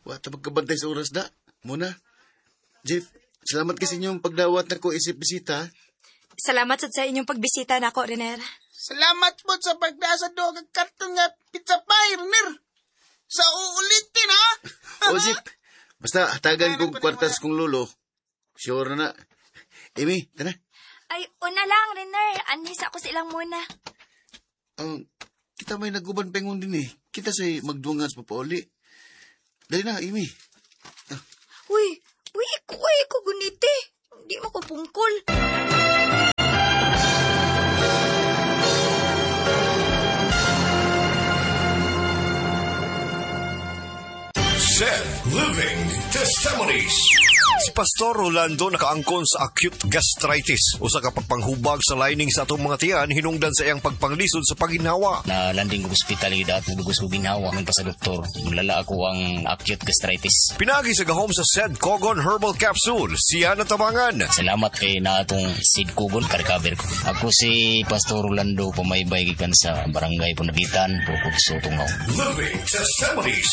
Wa ta magkabantay sa oras da. Muna. Jeff, salamat kasi inyong pagdawat na ko isip bisita. Salamat sad sa inyong pagbisita nako, Rener. Salamat po sa pagdasa do kag karton nga pizza pie, Rener. Sa uulitin, ha? O, Jeff, basta hatagan kong kwartas kong lolo. Sure na na. Amy, tara. Ay, una lang, Rener. Anis ako sa ilang muna. Kita may naguban pengon din eh. Kita say magduangan sa papauli. Dali na, Amy. Uy, uy, iko, uy, iko gunite. Di mo ko pungkol. Said Living Testimonies. Si Pastor Rolando nakaangkon sa acute gastritis, usa ka pagpanghubag sa lining sa atong mga tiyan hinungdan sa iyang pagpanglisod sa paginhawa. Na landing ko ospital gid at nagdugos ko ginhawa man pa sa doktor. Mulala ako ang acute gastritis. Pinagi sa gahom sa Said Kogon Herbal Capsule, siya natabangan. Salamat kay na atong Sid Kogon ka-recover ko. Ako si Pastor Rolando pamaybay gikan sa Barangay Punagitan, Purkutso, Tungaw. Living Testimonies.